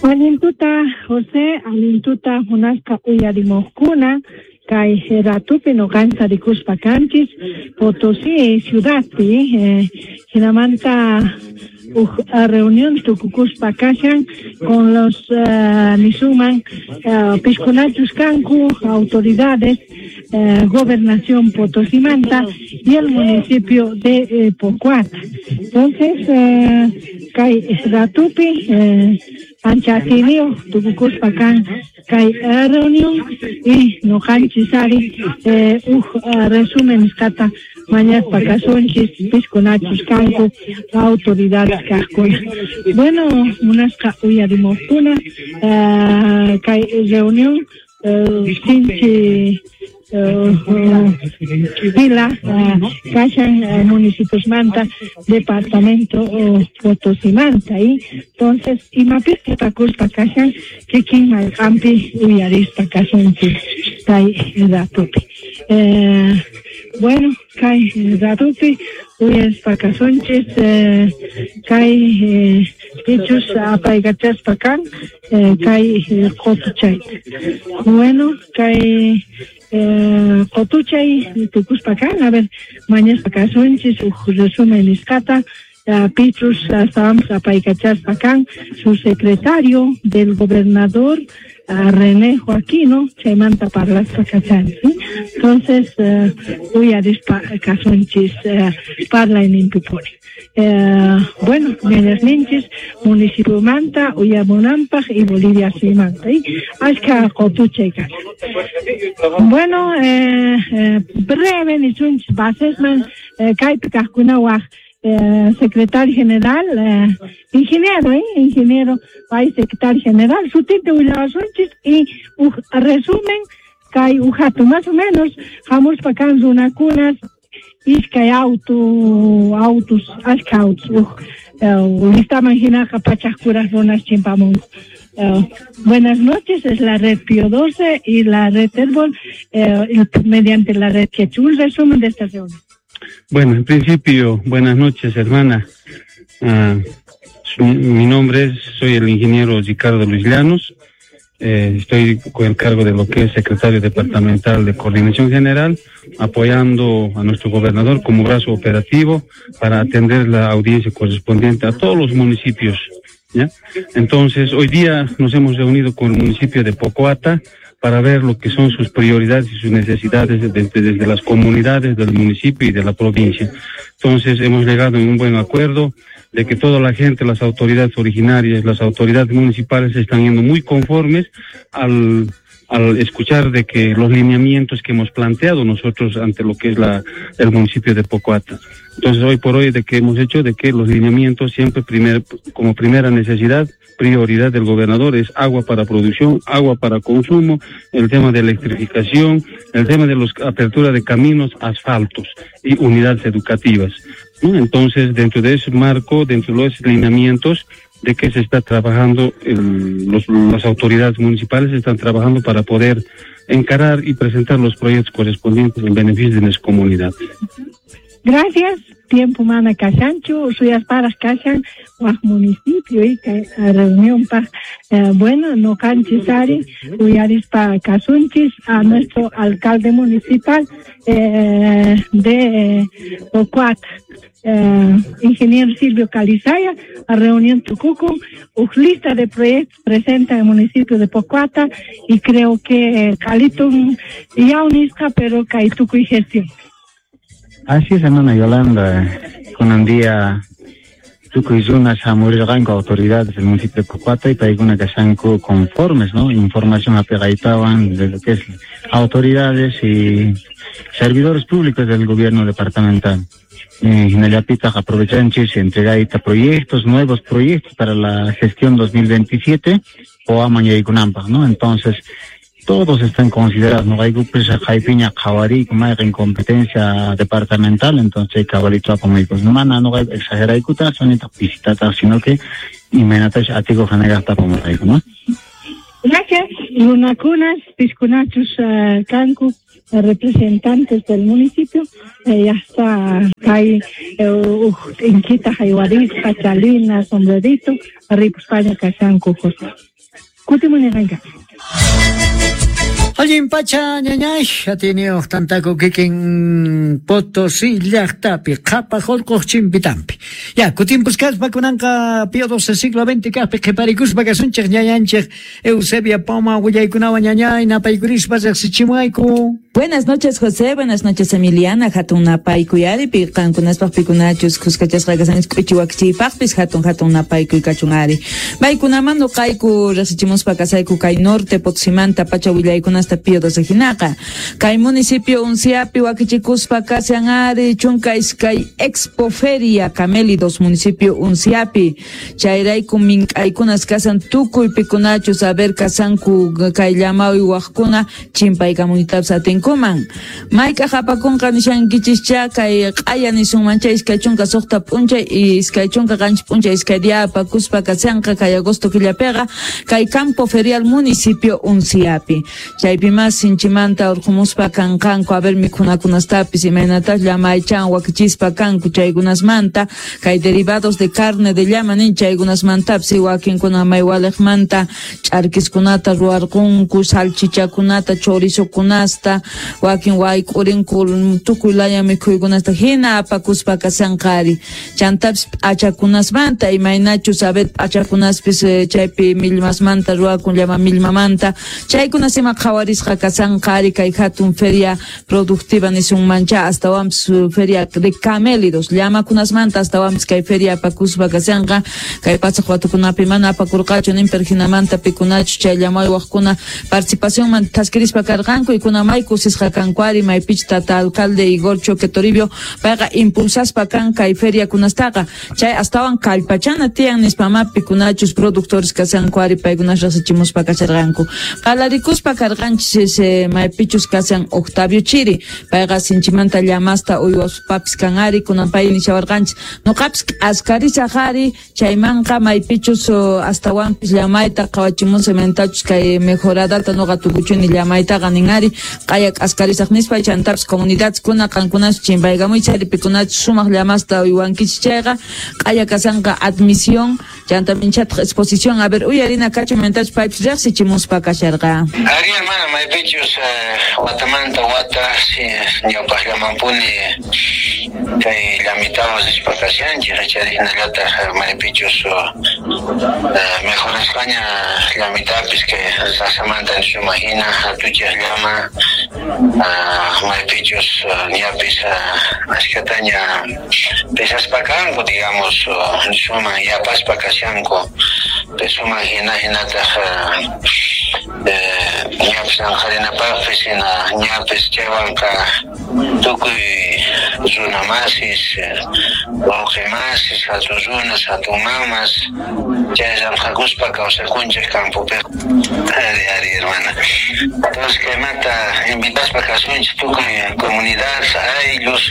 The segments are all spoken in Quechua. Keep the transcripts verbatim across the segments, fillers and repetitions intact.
Allintuta José, allintuta munasqa uyarimuqkuna, kay ratupi nuqanchis rikuspa kanchis Potosí ciudadpi, eh, hinamanta uj reunión tukukuspa kashan con los uh, nisuman uh, piskunachus kanku autoridades eh, gobernación Potosimanta y el municipio de eh, Pocoata. Entonces, eh, kay ratupi eh, ancha atiyniyuq tukukuspa kan kay reunión y nuqanchis ari eh, uj resumen nisqata mañaspa kasunchis piskunachus kanku autoridades kaqkuna. Bueno, munasqa uyarimuqkuna eh, kay reunión eh, sinchi pila kashan municipios manta departamento Potosimanta y entonces imapis qhipakuspa kashan kikin marqanpi uyarispa kasunchis kay ratupi. Eh, bueno, kay ratupi uyarispa kasunchis eh, kay eh, pichus apaykachaspa kan eh, kay qutuchayta. Bueno, kay eh, qutuchay tukuspa kan, a ver, mañaspa kasunchis uj resumen nisqata uh, pichus estábamos apaykachaspa kan su secretario del gobernador uh, René Joaquino chaymanta parlaspa kachan, ¿sí? Entonces uh, uyarispa kasunchis uh, parlayninpipuni. Eh, bueno, ninchis municipio Manta, Uyamunampaj y Bolivia Simanta. Y ashka qutuchay kashan. Bueno, eh, eh, breve nisunchis basesman eh, kaypi kaqkunawaq eh, secretario general, eh, ingeniero, eh, ingeniero, país secretario general, sutita willawasunchis y uj resumen kay ujato más o menos hamuspa kan runakunas iskay auto autos ashka autos uj uh, listaman hinaqa pachaq kuraq runas chimpamunku. Uh, buenas noches, es la red Pío doce y la red Herbol, eh, mediante la red Quechua. Un resumen de esta reunión. Bueno, en principio, buenas noches, hermana. Uh, su, mi nombre es, soy el ingeniero Ricardo Luis Llanos. Eh, estoy con el cargo de lo que es secretario departamental de Coordinación General, apoyando a nuestro gobernador como brazo operativo para atender la audiencia correspondiente a todos los municipios, ¿ya? Entonces, hoy día nos hemos reunido con el municipio de Pocoata para ver lo que son sus prioridades y sus necesidades desde, desde las comunidades del municipio y de la provincia. Entonces, hemos llegado en un buen acuerdo de que toda la gente, las autoridades originarias, las autoridades municipales están yendo muy conformes al, al escuchar de que los lineamientos que hemos planteado nosotros ante lo que es la, el municipio de Pocoata. Entonces, hoy por hoy, de que hemos hecho de que los lineamientos siempre primer, como primera necesidad, prioridad del gobernador es agua para producción, agua para consumo, el tema de electrificación, el tema de la apertura de caminos, asfaltos y unidades educativas, ¿no? Entonces, dentro de ese marco, dentro de los lineamientos de que se está trabajando, el, los, las autoridades municipales están trabajando para poder encarar y presentar los proyectos correspondientes en beneficio de las comunidades. Gracias. Tiempo mana kashanchu, suyasparaq kashan waq municipio y kay reunión pa eh, bueno, nuqanchis ari uyarispa kasunchis a nuestro alcalde municipal eh, de Pocoata, eh, ingeniero Silvio Calizaya, a reunión tukuku, uj lista de proyectos presenta en el municipio de Pocoata y creo que eh, qhalitun yawnisqa, pero kay tukuy gestión. Así es, hermana Yolanda, con un día tukuy runas hamurirqanku autoridades del municipio de Pocoata y paykuna kashanku conformes, ¿no? Información apegaitawan de lo que es autoridades y servidores públicos del gobierno departamental. Eh, hinallapitaq aprovechanchis entregaita proyectos, nuevos proyectos para la gestión dos mil veintisiete o amañaykunanpaq, ¿no? Entonces, todos están considerados, no hay pues jaipiña qhawariy mayqin competencia departamental, entonces cabalito apamaykus no mana no hay exageraykuta sonita visitata, sino que imaynatash atiku hanagaqta apamayku, ¿no? Gracias, runakunas, piskunachus uh, kanku representantes del municipio eh, ya está kay eh, t'inkita haywarisqa chalina sombrerito ripuspaña kashanku José. Kutimunirqanka. Allin pacha ñañay, atiniyuq tantaku kikin Potosí llaqtapi, qhapaq urquq chimpitampi. Ya, kutimpusqaspa kunanqa Pío doce siglo veinte kaqpi qhiparikuspa kasunchik ñañanchik Eusebia Poma willaykunawan ñañay napaykurispa riqsichimuayku. Buenas noches, José. Buenas noches, Emiliana. Hatun napaykuy ari, qankunaspaq pikunachus kuskachasqa kasanchis k'uchiwakchiypaqpis hatun hatun napaykuy kachun ari. Paykunaman nuqayku riqsichimuspa kasayku kay norte Potosimanta pacha willaykunasta Pío doce hinaqa. Kay municipio Unciapi wakichikuspa kashan ari chunka iskay Expo Feria Camélidos municipio Unciapi. Chayrayku mink'aykunas kasan tukuy pikunachus a ver kasanku kay llamawi waqkuna chimpaykamunitapis atinkuman. Mayk'aq apakunqa nishankichis kay q'aya nisunman chay iskay chunka suqta p'unchay iskay chunka qanchis p'unchay iskay día apakuspa kashanqa kay agosto killapiqa kay campo ferial municipio Unciapi. Chaypi mas sinchimanta urqumuspa kanqanku a ver mikhunakunastapis imaynatas llamaychan wakichispa kanku chaykunasmanta kay derivados de carne de llama nin chaykunasmantapis wakinkuna maywaliqmanta ch'arkiskunata ruwarqunku salchichakunata chorizokunasta wakin wayk'urinku tukuy laya mikhuykunasta hina apakuspa kashanqa ari. Chantapis p'achakunasmanta imaynachus a ver p'achakunaspis chaypi millmasmanta ruwakun llama millmamanta chaykunas ima qhawarisqa kashanqa ari kay hatun feria productiva nisunmancha astawanpis feria de camélidos llamakunasmanta astawanpis kay feria apakuspa kashanqa kay pasaq watukunapi mana apakurqachu nin perhinamanta pikunachus chay llamaywaqkuna participacionman thaskirispa karqanku y kuna may kusisqa kanku ari maypich tata alcalde Igor Choque Toribio payqa impulsaspa kan kay feria kunastaqa chay astawan kallpachana tiyan nispama pikunachus productores kashanku ari paykunas riqsichimuspa kasharqanku qalarikuspa karqanchis maypichus kashan Octavio Chiri payqa sinchimanta llamasta uywaspapis kan ari kunan pay nishawarqanchis nuqapis k'askarisaq ari chaymanqa maypichus astawanpis llamayta qhawachimunsa imaynatachus kay mejoradata nuqa tukuchuni llamaytaqa nin ari q'aya k'askarisaq nispa chantapis comunidadkuna qankunas chimpaykamuychis ari pikunachus sumaq llamasta uywankichis chayqa q'aya kashanqa admisión chanta minchataq exposición a ver uyarina kachu imaynatachus paypis riqsichimuspa kasharqa. Ari hermana maypichus watamanta wata ñawpaqllamampuni kay llamitawan rispa kashanchik chayhinallataq maypichus mejorasqaña llamitapis kay sasamanta nisumahina hatuchaq llama maypichus ñapis ashkataña pesaspa kanku digamos nisuman yapaspa kashanku pesuman hina hinataq ñapis anqarinapaqpis hina ñapis chaywanqa tukuy runa masis wawqi masis hatun runas hatun mamas chay llamk'akuspa kawsakunchik campopiqa. Ari ari hermana. Entonces kaymanta invitaspa kasunchik tukuy comunidad ayllus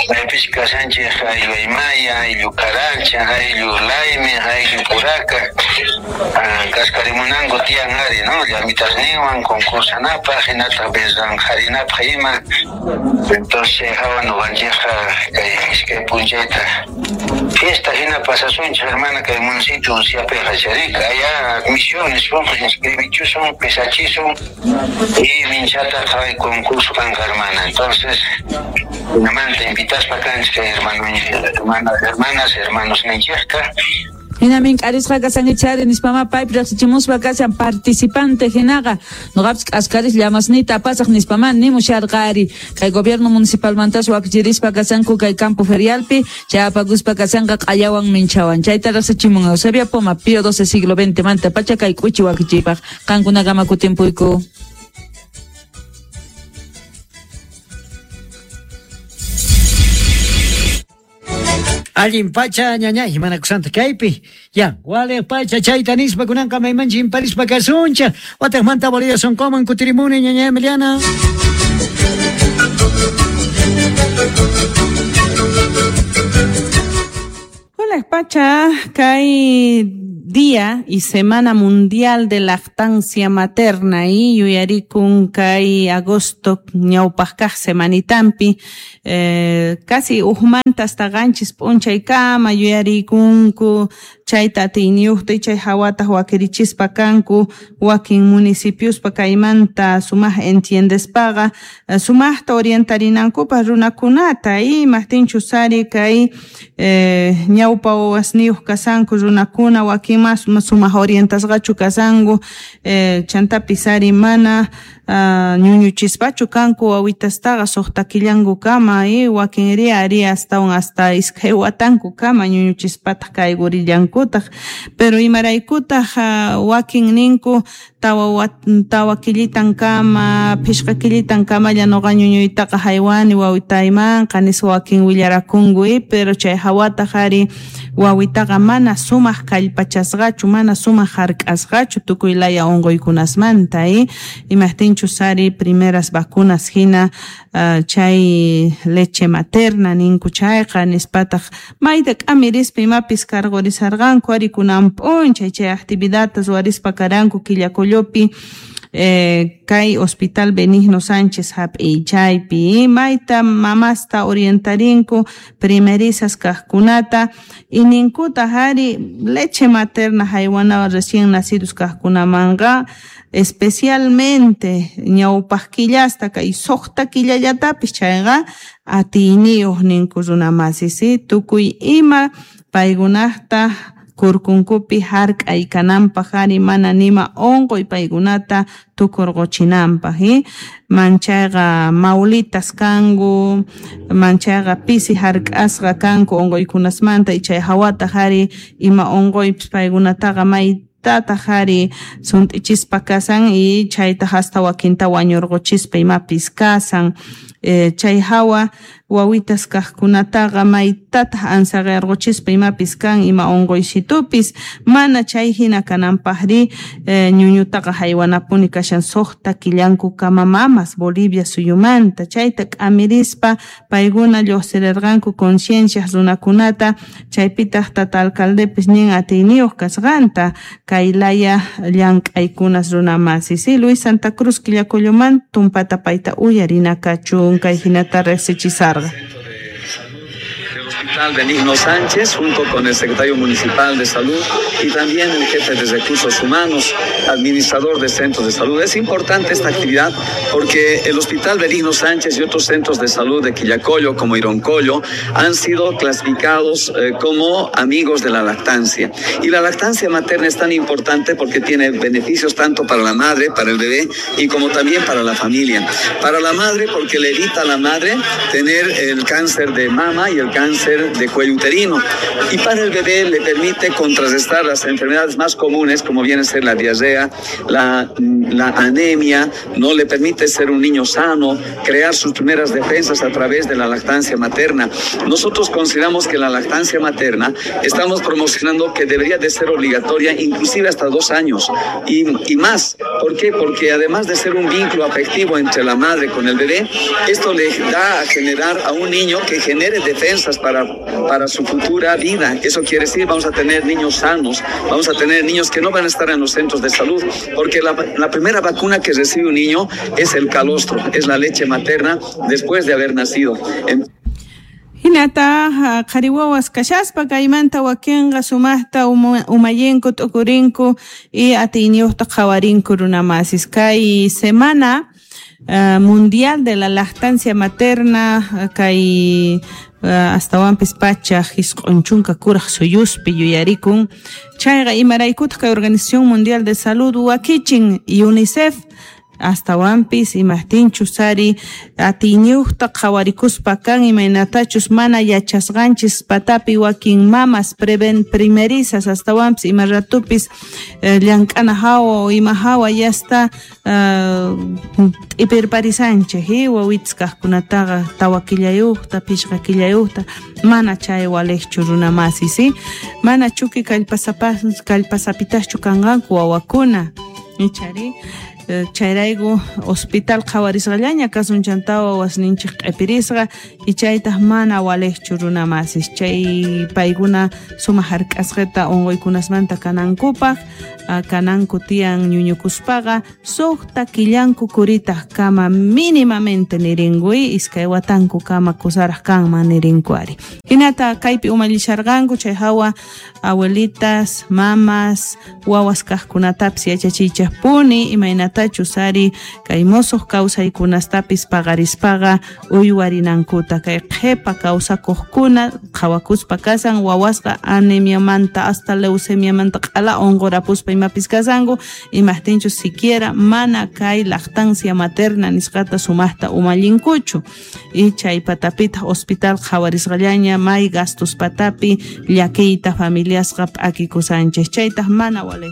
maypis kashanchik ayllu Aymaya, ayllu Carancha, ayllu Laime, ayllu Puraca kaskarimunanku tiyan ari no llamitasninwan concursanapaq hinataq bezanqarinapaq ima. Entonces hawa nuqanchikqa kay iskay p'unchayta fiesta hina pasasunchik hermana kay municipio Unciapiqa charika allá admisiones inscribichusun pesachisun y minchata kay concurso kanqa hermana. Entonces hinamanta invitaspa kanchik kay hermano hermanas hermanas hermanos ninchikta. Hina mink'arisqa kasankichari nispama paypi riqsichimuspa kashan participante hinaqa nuqapis k'askaris llamasniyta apasaq nispama nimusharqa ari kay gobierno municipalmantas wakichirispa kashanku kay campo ferialpi chay apakuspa kashanqa q'ayawan minchawan chayta riqsichimun Eusebia Poma Pío doce siglo veinte manta pacha kay k'uchi wakichiypaq qankunakama kutimpuyku. Allin pacha ñañay manakusanta kaypi ya wale pacha chayta nispa kunanqa maymanchi imparispa kasuncha wataqmanta Bolivia sonqoman kutirimuni ñañay Emiliana. Pacha kay Día y Semana Mundial de Lactancia Materna y yuyarikun kay agosto ñawpaq kaq semanitampi eh, casi ujmanta hasta qanchis p'unchaykama yuyarikunku chayta atiyniyuqta y chay hawataq wakirichispa kanku wakin municipiospa kaymanta sumaq entiendespaqa sumaqta orientarinankupaq runakunata y imaqtinchus ari kay eh, ñawpa wawasniyuq kasanku runakuna wakin mas sumaq orientasqachu kasanku eh, chantapis ari mana uh, ñuñuchispachu kanku wawitastaqa suqta killankukama y wakinri ari astawan hasta iskay watankukama ñuñuchispataq kaykurillankutaq pero imaraykutaq uh, wakin ninku tawa tawa killitankama phishqa killitankama nuqa ñuñuytaqa haywani wawitaymanqa nispa wakin willarakunku y pero chay hawataq ari wawitaqa mana sumaq kallpachasqachu mana sumaq hark'asqachu tukuy laya unquykunasmanta y imaqtinchus ari primeras vacunas hina uh, chay leche materna ninku chayqa nispataq mayta k'amirispa imapis cargorisarqanku ari kunan p'unchay chay actividadtas ruwarispa karanku Quillacollopi eh, kay Hospital Benigno Sánchez hap'iy chaypi mayta mamasta orientarinku primerizas kaqkunata y ninkutaq ari leche materna haywana recién nacidos kaqkunamanqa especialmente ñawpaq killasta kay suqta killallatapis chayqa atiyniyuq ninku runamasis tukuy ima paykunaqta kurkunkupi hark'ay kananpaq ari mana nima unquy paykunata tukurquchinanpaq y manchayqa maulitas kanku manchayqa pisi hark'asqa kanku unquykunasmanta y chay hawataq ari ima unquypis paykunataqa maytataq ari sunt'ichispa kasan y chaytaq hasta wakinta wañurquchispa imapis kasan eh, chay hawa wawitas kaqkunataqa maytataq ansaqirquchispa imapis kan ima unquysitupis mana chay hina kananpaqri eh, ñuñutaqa haywanapuni kashan suqta killankukama mamas Bolivia suyumanta chayta k'amirispa paykuna lluqsirirqanku conciencia runakunata chaypitaq tata alcaldepis nin atiyniyuq kasqanta kay laya llank'aykunas runamasis si Luis Santa Cruz Quillacolloman tumpata payta uyarina kachun kay hinata riqsichisarqa. Del Hospital Benigno Sánchez, junto con el secretario municipal de Salud y también el jefe de Recursos Humanos, administrador de centros de salud. Es importante esta actividad porque el Hospital Benigno Sánchez y otros centros de salud de Quillacollo, como Ironcollo, han sido clasificados eh, como amigos de la lactancia. Y la lactancia materna es tan importante porque tiene beneficios tanto para la madre, para el bebé y como también para la familia. Para la madre porque le evita a la madre tener el cáncer de mama y el cáncer de cuello uterino. Y para el bebé le permite contrarrestar las enfermedades más comunes, como viene a ser la diarrea, la, la anemia, no le permite ser un niño sano, crear sus primeras defensas a través de la lactancia materna. Nosotros consideramos que la lactancia materna estamos promocionando que debería de ser obligatoria inclusive hasta dos años y, y más. ¿Por qué? Porque además de ser un vínculo afectivo entre la madre con el bebé, esto le da a generar a un niño que genere defensas para, para su futura vida. Eso quiere decir, vamos a tener niños sanos, vamos a tener niños que no van a estar en los centros de salud, porque la, la primera vacuna que recibe un niño es el calostro, es la leche materna después de haber nacido. En Hinata qhari wawas kashaspa kaymanta wakinqa sumaqta umayinku t'ukurinku y atiyniyuqta qhawarinku runamasis. Kay semana uh, mundial de la lactancia materna kay uh, astawanpis pacha hisq'un chunka kuraq suyuspi yuyarikun chayqa imaraykutaq kay Organización Mundial de Salud wakichin UNICEF astawanpis imaqtinchus ari atiyniyuqta qhawarikuspa kan imaynatachus mana yachasqanchis patapi wakin mamas preven primerizas astawanpis ima ratupis eh, llank'ana hawa o ima hawa yasta uh, t'ipirparisanchik eh, wawitas kaqkunataqa tawa killayuqta phishqa killayuqta mana chay waliqchu runamasis si mana chuki kallpasapas kallpasapitaschu kanqanku wawakuna ichari. Chayrayku hospital qhawarisqallaña kasun chantawa wasninchik q'ipirisqa y chaytaq mana waliqchu runa masis chay paykuna sumaq hark'asqata unquykunasmanta kanankupaq kananku tiyan ñuñukuspaqa suqta killanku kuritaq kama mínimamente nirinkuy iskay watanku kama kusaraq kanman nirinku ari hinata kaypi umallisharqanku chay hawa abuelitas mamas wawas kaqkunatapis yachachiychaqpuni imaynatachus ari kay mosoq kawsaykunastapis paqarispaqa uywarinankuta kay qhipa kawsakuqkuna qhawakuspa kasan wawasqa anemiamanta hasta leucemiamanta q'ala unqurapuspa imapis kasanku imaqtinchus siquiera mana kay lactancia materna nisqata sumaqta umallinkuchu y chay patapitaq hospital qhawarisqallaña may gastos patapi llakiyta familiasqa p'akikusanchis chaytaq mana waliq.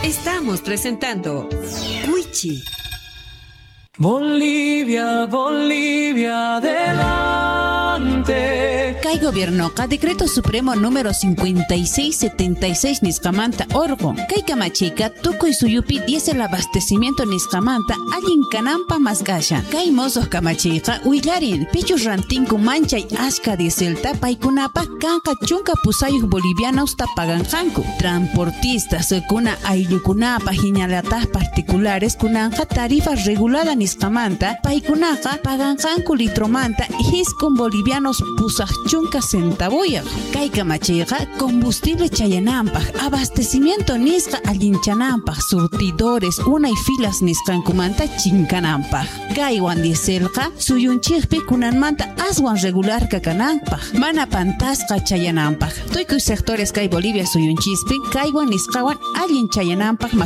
Estamos presentando Wichi. Bolivia, Bolivia, adelante. Kay gobiernoqa Decreto Supremo número cincuenta y seis setenta y seis nisqamanta orqun. Kay kamachiyqa tukuy suyupi diésel abastecimiento nisqamanta allin kananpaq mask'ashan. Kay mosoq kamachiyqa willarin pichus rantinku manchay ashka dieselta paykunapaq kanqa chunka pusayuq bolivianosta paganqanku. Transportistas kuna ayllukunapaq hinallataq particulares kunanqa tarifa regulada nisqamanta paykunaqa paganqanku litromanta hiskun bolivianos pusaq chunka centavoyaq. Kay kamachiyqa combustible chayananpaq abastecimiento nisqa allinchananpaq surtidores unay filas nisqankumanta chinkananpaq. Kaywan dieselqa suyunchikpi kunanmanta aswan regularqa kananpaq mana pantasqa chayananpaq. Tukuy sectores kay Bolivia suyunchispi kaywan nisqawan allin chayananpaq